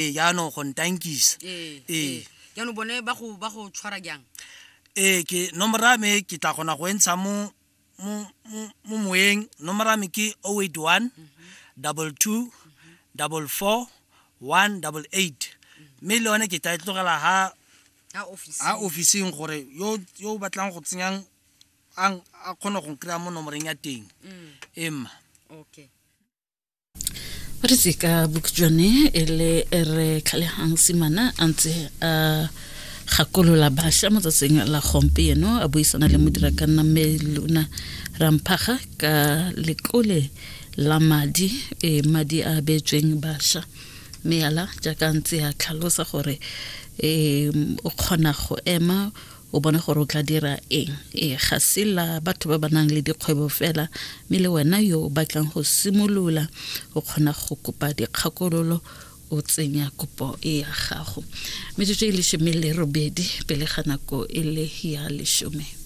Ee, jaanong go ntankisa. Ee. Ee. Jaanong bone ba go ba go tshwara jang? Ee, ke nomoro ya me ke tla kgona go e ntsha mo mo mo mo moyeng. Nomoro ya me ke 081 22 44 188, mme le yone ke tla e tlogela ha ha office, ha officing, gore yo yo o batlang go tsenyang a a kgone go kry-a mo nomoreng ya teng. Ee, mma. Okay. Re se ka bokhutshwane e le re tlhalegang simana a ntse a gakolola bašwa mo tsatsing la gompieno, a buisana le modira ka nna mme Lona Ramphaga ka letlole la madi, e madi a beetsweng bašwa, mme yala jaaka ntse a tlhalosa gore e o kgona go ema o bone gore o tla dira eng. Ee, ga se la batho ba ba nang le dikgwebo fela, mme le wena yo o batlang go simolola o kgona go kopa dikgakololo, o tsenya kopo e ya gago. Metsotso e 18 pele ga nako e le ya 10.